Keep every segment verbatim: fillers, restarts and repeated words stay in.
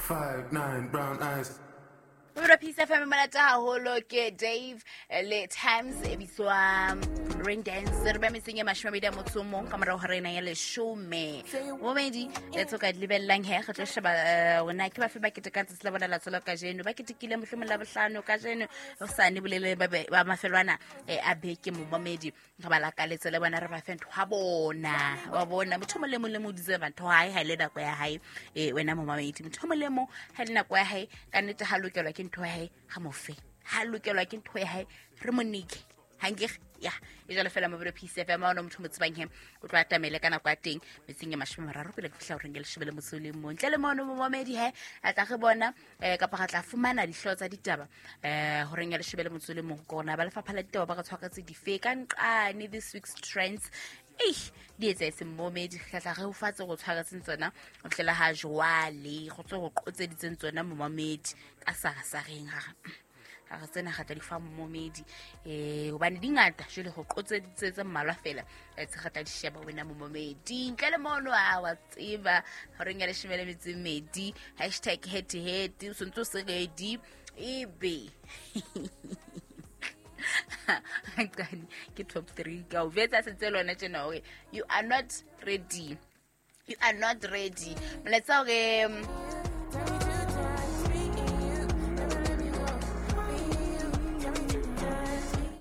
Five, nine, brown eyes. Mobile Peace F M monate haholo ke Dave le Times e bitswa Rain Dance. Re ba metseng e mashome a mabedi a motso o mong ka morao ho rena ya leshome. Momedi le tsoka di lebellang he re tlo sheba rona ke ba fe ba ketekang tsatsi la bona la tswalo kajeno. Ba ketekile mohlomong la bohlano kajeno ho sane bolele ba ba mafelwana a beke momedi re ba lakaletse le bona re ba fe ntho ha bona. Wa bona motho mo le mong le mo deserve ntho hae ha ile nako ya hae eh wena momedi motho mo le mong ha ile nako ya hae ka nnete ha lokelwa ke ntho ya hae ha mo fe ha lokelwa ke ntho ya hae re mo nike hanke ya e jalo fela Mobile Peace F M ona motho mo tsebang he o tlo atamele ka nako ya teng metseng ya mashome a mararo pele ke fihla horeng ya leshome le motso le mong ntle le mono momedi he a tla re bona eh kapa re tla fumana dihlooho tsa ditaba eh horeng ya leshome le motso le mong kona ba lefapha la ditaba ba re tshwaretse dife ka nqane this week's trends eh di etsetse momedi re tla re o fatse go tshwaretseng tsona o tlela ha jwale go tswe go qotseditseng tsona momedi ka sarasareng ha ha re tsena ga tla di fa momedi eh hobane di ngata jwale go qotseditse tse mmalwa fela tse ga tla di sheba wena momedi ntle le mono a wa tseba horeng ya leshome le metso e mmedi hashtag head to head o sentse o se ready ebe Qani ke top three ka o betsa setse lona tjena hore you are not ready, you are not ready molaetsa hore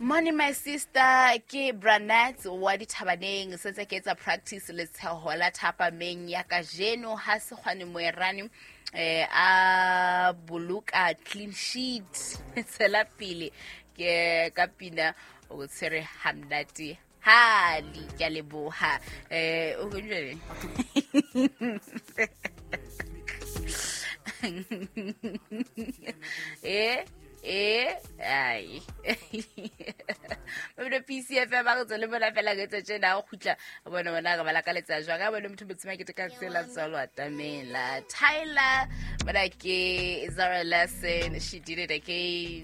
Morning my sister ke Branat wa dithabaneng sentse ke etsa practice le tsheho la thapameng ya kajeno ha se kgwane moerane eh a boloka clean sheet tsela pele ke ka pina o tshwere hamnati hali ke a leboha eh o njele eh eh ai Mobile P C F M ba re tswele bona fela ke tse tjena o kgutla bona bona re bala ka letsa jwang ka bona motho motsema ke ka tsela tswalo atamela Tyler bona ke Zara Larson, she did it again.